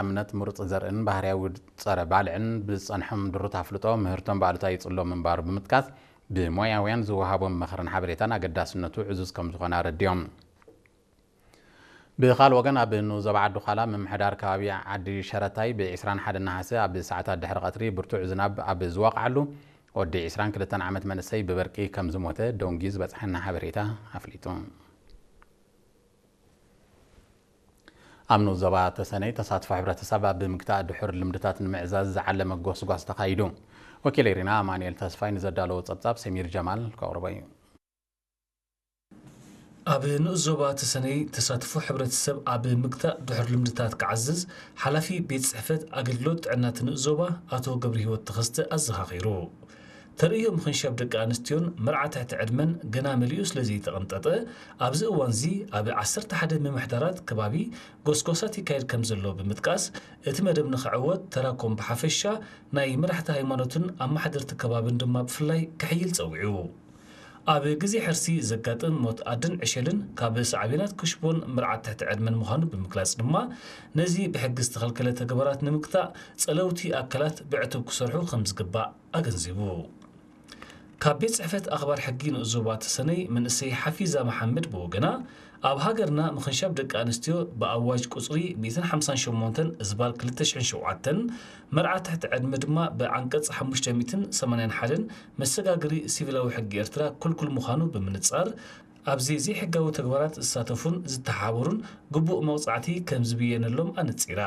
ቀዳምነት ምሩፅ ዘርእን ባህርያዊ ፀረ ባልዕን ብዝፀንሖም ድሩት ኣፍልጦ ምህርቶም ብኣሉታ ይፅሎ ምንባሩ ብምጥቃስ፣ ብሞያውያን ዝወሃቦም ምኽርን ሓበሬታን ኣገዳስነቱ ዕዙዝ ከም ዝኾነ ኣረዲኦም። ብኻል ወገን ኣብ ንኡስ ዞባ ዓዲ ዃላ ምምሕዳር ከባቢ ዓዲ ሸረታይ ብ ዕስራን ሓደን ነሓሰ ኣብ ሰዓታት ድሕሪ ቀትሪ ብርቱዕ ዝናብ ኣብ ዝወቕዓሉ ወዲ ዕስራን ክልተን ዓመት መንእሰይ ብበርቂ ከም ዝሞተ ደንጉዩ ዝበፅሐና ሓበሬታ ኣፍሊጡ። ኣብ ንኡስ ዞባ ተሰነይ ተሳትፎ ሕብረተሰብ ኣብ ምግታእ ድሑር ልምድታት ንምዕዛዝ ዝዓለመ ጎስጓስ ተኻይዱ። ወኪል ኤሪና ኣማኑኤል ተስፋይ ንዘዳለዎ ጸብጻብ ሰሚር ጀማል ከቕርቦ እዩ። ኣብ ንኡስ ዞባ ተሰነይ ተሳትፎ ሕብረተሰብ ኣብ ምግታእ ድሑር ልምድታት ክዓዝዝ ሓላፊ ቤት ጽሕፈት ኣገልግሎት ጥዕና እቲ ንኡስ ዞባ ኣቶ ገብረህይወት ተኸስተ ኣዘኻኺሩ። ተርእዮ ምኽንሻብ ደቂ ኣንስትዮን መርዓ ትሕቲ ዕድመን ገና መሊኡ ስለ ዘይተቐንጠጠ፣ ኣብዚ እዋንዚ ኣብ ዓሰርተ ሓደ ምምሕዳራት ከባቢ ጎስጓሳት ይካየድ ከም ዘሎ ብምጥቃስ፣ እቲ መደብ ንኽዕወት ተራኮም ብሓፈሻ ናይ መራሕቲ ሃይማኖትን ኣመሓደርቲ ከባብን ድማ ብፍላይ ክሕይል ጸዊዑ። ኣብ ግዜ ሕርሲ ዘጋጥም ሞት ኣድን ዕሸልን ካብ ሳዕቤናት ክሽቦን መርዓት ትሕቲ ዕድመን ምዃኑ ብምግላጽ ድማ፣ ነዚ ብሕጊ ዝተኸልከለ ተግባራት ንምግታእ ጸለውቲ ኣካላት ብዕቱብ ክሰርሑ ከም ዝግባእ ኣገንዚቡ። ካብ ቤት ጽሕፈት ኣኽባር ሕጊ ንኡስ ዞባ ተሰነይ መንእሰይ ሓፊዛ መሓመድ ብወገና፣ ኣብ ሃገርና ምኽንሻብ ደቂ ኣንስትዮ ብኣዋጅ ቁጽሪ ሚእትን ሓምሳን ሸሞንተን እዝባር ክልተ ሽሕን ሸውዓተን፣ መርዓ ትሕቲ ዕድመ ድማ ብዓንቀጽ ሓሙሽተ ሚእትን ሰማንያን ሓደን መሰጋገሪ ሲቪላዊ ሕጊ ኤርትራ ክልኩል ምዃኑ ብምንጻር፣ ኣብዚ ዘይሕጋዊ ተግባራት ዝሳተፉን ዝተሓባበሩን ግቡእ መቕጻዕቲ ከም ዝብየነሎም ኣነጺራ።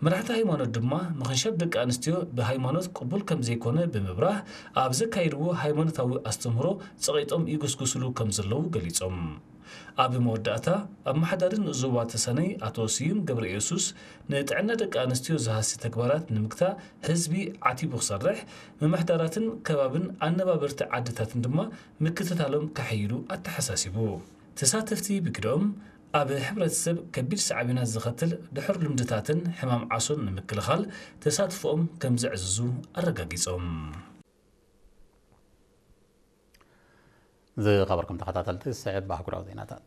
መራሕቲ ሃይማኖት ድማ ምኽንሻብ ደቂ ኣንስትዮ ብሃይማኖት ቅቡል ከም ዘይኮነ ብምብራህ፣ ኣብ ዘካየድዎ ሃይማኖታዊ ኣስተምህሮ ጸቒጦም ይጉስጉስሉ ከም ዘለዉ ገሊጾም። ኣብ መወዳእታ፣ ኣመሓዳሪ ንኡስ ዞባ ተሰነይ ኣቶ ስዩም ገብረ ኢየሱስ፣ ንጥዕና ደቂ ኣንስትዮ ዝሃሲ ተግባራት ንምግታእ ህዝቢ ዓቲቡ ክሰርሕ፣ ምምሕዳራትን ከባብን ኣነባበርቲ ዓድታትን ድማ ምክትታሎም ከሐይሉ ኣተሓሳሲቡ። ተሳተፍቲ ብግደኦም፣ ኣብ ሕብረተሰብ ከቢድ ሳዕቤናት ዘኸትል ድሑር ልምድታትን ሕማም ዓሶን ንምክልኻል ተሳትፎኦም ከም ዘዕዝዙ ኣረጋጊጾም። ዝኸበርኩም ተኸታተልቲ፣ ዝስዕብ ኣህጉራዊ ዜናታት።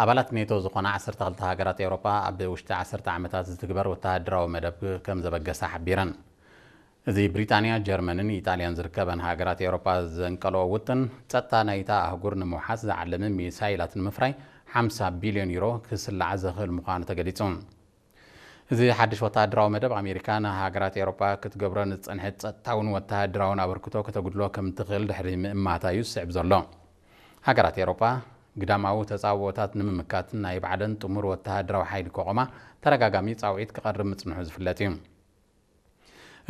ኣባላት ኔቶ ዝኾና ዓሰርተ ክልተ ሃገራት ኤውሮጳ ኣብ ውሽጢ ዓሰርተ ዓመታት ዝትግበር ወተሃደራዊ መደብ ከም ዘበገሳ ሓቢረን። እዚ ብሪጣንያ፣ ጀርመንን ኢጣልያን ዝርከበን ሃገራት ኤውሮጳ ዘንቀልኦ ውጥን፣ ጸጥታ ናይታ ኣህጉር ንምውሓስ ዝዓለመ ሚሳይላት ንምፍራይ ሓምሳ ቢልዮን ዩሮ ክስላዕ ዘኽእል ምዃኑ ተገሊጹ። እዚ ሓድሽ ወተሃደራዊ መደብ፣ ኣሜሪካ ንሃገራት ኤውሮጳ ክትገብሮ ንዝጸንሐት ጸጥታውን ወተሃደራውን ኣበርክቶ ከተጉድሎ ከም ትኽእል ድሕሪ ምእማታ እዩ ዝስዕብ ዘሎ። ሃገራት ኤውሮጳ ግዳማዊ ተጻብኦታት ንምምካት ናይ ባዕለን ጥሙር ወተሃደራዊ ሓይሊ ከቖማ ተደጋጋሚ ጻውዒት ክቐርብ ምጽንሑ ዝፍለጥ እዩ።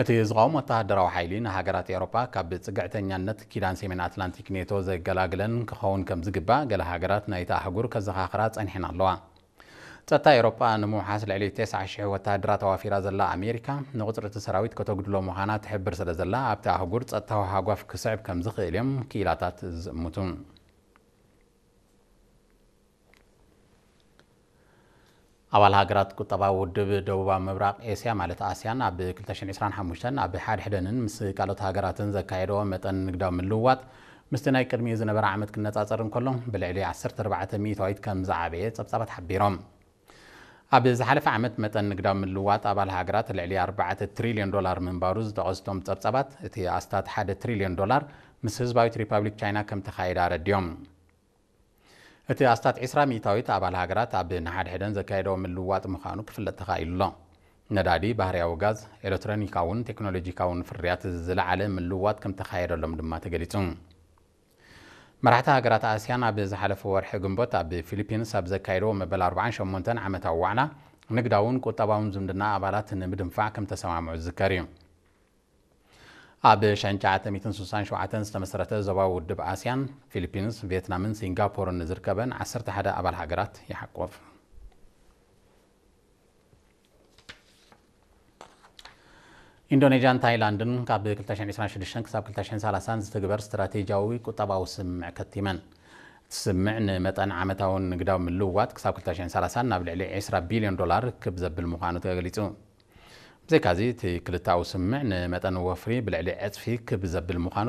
እቲ ዝቐውም ወተሃደራዊ ሓይሊ ንሃገራት ኤውሮጳ ካብ ጽግዕተኛነት ኪዳን ሰሜን ኣትላንቲክ ኔቶ ዘገላግለን ክኸውን ከም ዝግባእ ገለ ሃገራት ናይታ ኣህጉር ከዘኻኽራ ጸኒሐን ኣለዋ። ጸጥታ ኤውሮጳ ንምውሓስ ልዕሊ ተስዓ ሽሕ ወተሃደራት ኣዋፊራ ዘላ ኣሜሪካ፣ ንቁጽሪ እቲ ሰራዊት ከተጉድሎ ምዃና ትሕብር ስለ ዘላ፣ ኣብቲ ኣህጉር ጸጥታዊ ሃጓፍ ክስዕብ ከም ዝኽእል እዮም ክኢላታት ዝእምቱ። ኣባል ሃገራት ቁጠባዊ ውድብ ደቡባዊ ምብራቕ ኤስያ፣ ማለት ኣስያን፣ ኣብ ክልተ ሽሕን ዕስራን ሓሙሽተን ኣብ ሓድሕደንን ምስ ካልኦት ሃገራትን ዘካየደኦ መጠን ንግዳዊ ምልውዋጥ ምስቲ ናይ ቅድሚኡ ዝነበረ ዓመት ክነጻጸር እንከሎ፣ ብልዕሊ ዓሰርተ ኣርባዕተ ሚእታዊት ከም ዝዓበየ ጸብጻባት ሓቢሮም። ኣብ ዝሓለፈ ዓመት መጠን ንግዳዊ ምልውዋጥ ኣባል ሃገራት ልዕሊ ኣርባዕተ ትሪልዮን ዶላር ምንባሩ ዝጠቐሱ እቶም ጸብጻባት፣ እቲ ኣስታት ሓደ ትሪልዮን ዶላር ምስ ህዝባዊት ሪፓብሊክ ቻይና ከም ተኻየደ ኣረዲኦም። እቲ ኣስታት ዕስራ ሚእታዊት ኣባል ሃገራት ኣብ ንሓድሕደን ዘካየደኦ ምልውዋጥ ምዃኑ ክፍለጥ ተኻኢሉ ኣሎ። ነዳዲ፣ ባህርያዊ ጋዝ፣ ኤሌክትሮኒካውን ቴክኖሎጂካውን ፍርያት ዝለዓለ ምልውዋጥ ከም ተኻየደሎም ድማ ተገሊጹ። መራሕቲ ሃገራት ኣስያን ኣብ ዝሓለፈ ወርሒ ግንቦት ኣብ ፊሊፒንስ ኣብ ዘካየደዎ መበል ኣርባዓን ሸሞንተን ዓመታዊ ዋዕላ፣ ንግዳውን ቁጠባውን ዝምድና ኣባላት ንምድንፋዕ ከም ተሰማምዑ ዝዝከር እዩ። ኣብ ሸሕን ትሽዓተ ሚእትን ስሳን ሸውዓተን ዝተመስረተ ዞባዊ ውድብ ኣስያን፣ ፊሊፒንስ፣ ቪየትናምን ሲንጋፖርን ዝርከበን ዓሰርተ ሓደ ኣባል ሃገራት ይሓቁፍ። ኢንዶኔዥያን ታይላንድን ካብ ክልተ ሽሕን ዕስራን ሽዱሽተን ክሳብ ክልተ ሽሕን ሰላሳን ዝትግበር ስትራቴጂያዊ ቁጠባዊ ስምምዕ ከቲመን። እቲ ስምምዕ ንመጠን ዓመታውን ንግዳዊ ምልውዋጥ ክሳብ ክልተ ሽሕን ሰላሳን ናብ ልዕሊ ዕስራ ቢልዮን ዶላር ክብ ዘብል ምዃኑ ተገሊጹ። ብዘይካዚ፣ እቲ ክልተኣዊ ስምምዕ ንመጠን ወፍሪ ብልዕሊ ዕጽፊ ክብ ዘብል ምዃኑ